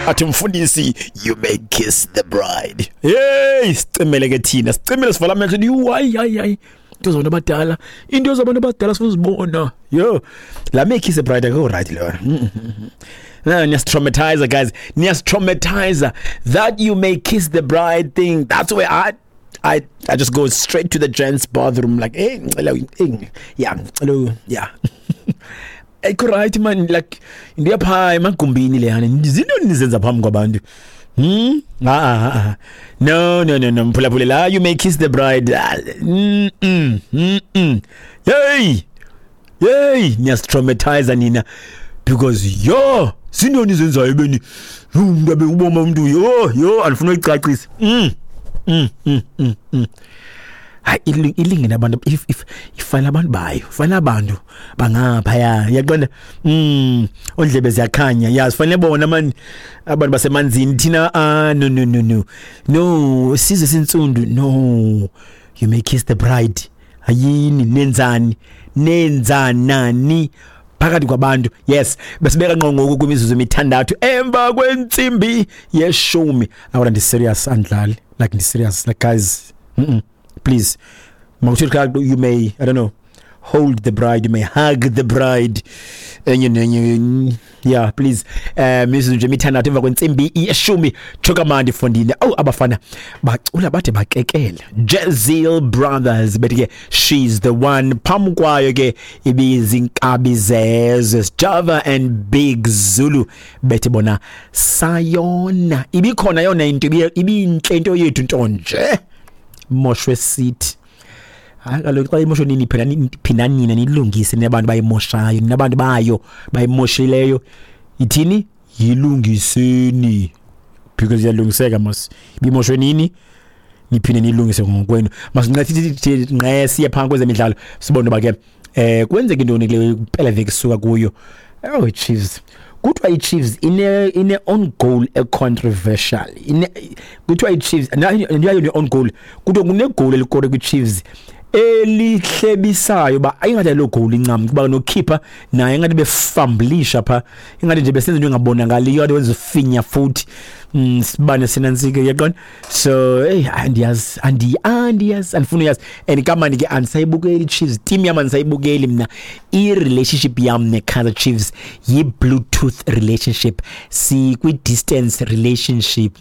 Athi mfundisi, "You may kiss the bride." Hey, sicimele ke thina, sicimele, sivala amehlo. Hayi, hayi, hayi, into zabantu abadala, into zabantu abadala sifuna. Yo, la "may kiss the bride" akho right leyo. No, niyasitraumatize guys, niyasitraumatize. That "you may kiss the bride" thing, that's where I just go straight to the gents' bathroom, like, "Hey, ngicela, hey, yeah, ngicela, yeah." Ayikho right man, like into yapha emagumbini leyana, izinto nizenza phambi kwabantu. Ah, ah, ah. No, no, no, no, mphulaphula la, "You may kiss the bride." Ah, Hey. Hey, niyasitraumatize nina, because yo, zintoni zenzayo beni umuntu abe uboma umuntu? Yo, yo, andifuna uyicacisa. Hayi, ilingene abantu, if ifana abantu bayo, fanele abantu bangaphaya, yaqonda, ondlebe ziyakhanya, yazi, fanele bona man abantu basemanzini. Thina, ah, no, no, no, no, no, sizwe sinsundu, no. "You may kiss the bride," ayini, nenzani, nenzanani phakathi kwabantu? Yes, besibeka ngqo ngoku kwimizuzu 6 emva kwentsimbi 10. Awona, ndi serious, andlali, like ndi serious, like guys, please, mawuthi you may, I don't know, hold the bride, you may hug the bride, enye nenye. Yeah, please, mizuzu nje 6 emva kwentsimbi 10. Chokamandi fondini. Awu, abafana bacula bade bakekela, Jazeel Brothers, bethi ke "She's the One." Phambi kwayo ke ibizinkabi zezwe, Java and Big Zulu, bethi bona "Sayona." Ibikhona yona into, ibinhle into yethu, ntonje moshwe sithi. Hayi kaloku, xa imosho nini phela, phinda nina nilungise, nabantu bayimoshayo, nabantu bayo bayimoshileyo, ithini, yilungiseni, because iyalungiseka mos. Ibimoshwe nini, niphinde nilungise ngokwenu. Masincede nqe siye phaa kwezemidlalo, sibone uba ke kwenzeka intoni kule mpela veki sisuka kuyo. Oh, Chiefs, kuthiwa i-Chiefs ine own goal e-controversial. Ine, kuthiwa i-Chiefs nayo ne own goal, kuthiwa kunegoli elikore kwi-Chiefs elihlebisayo, ba ayingathi lo goal incam, kuba nokhipha naye ngathi befamblisha pha, ingathi nje besenza into engabonakaliyo, kade wenza ufinya futhi. Sibane sinansike, yaqona. So hey, andiyazi, andiyazi, andifuna uyazi, and kamani ke andisayibukeli Chiefs team yam, andisayibukeli mna. I-relationship yam ne-Kaizer Chiefs yi-Bluetooth relationship, sikwi-distance relationship.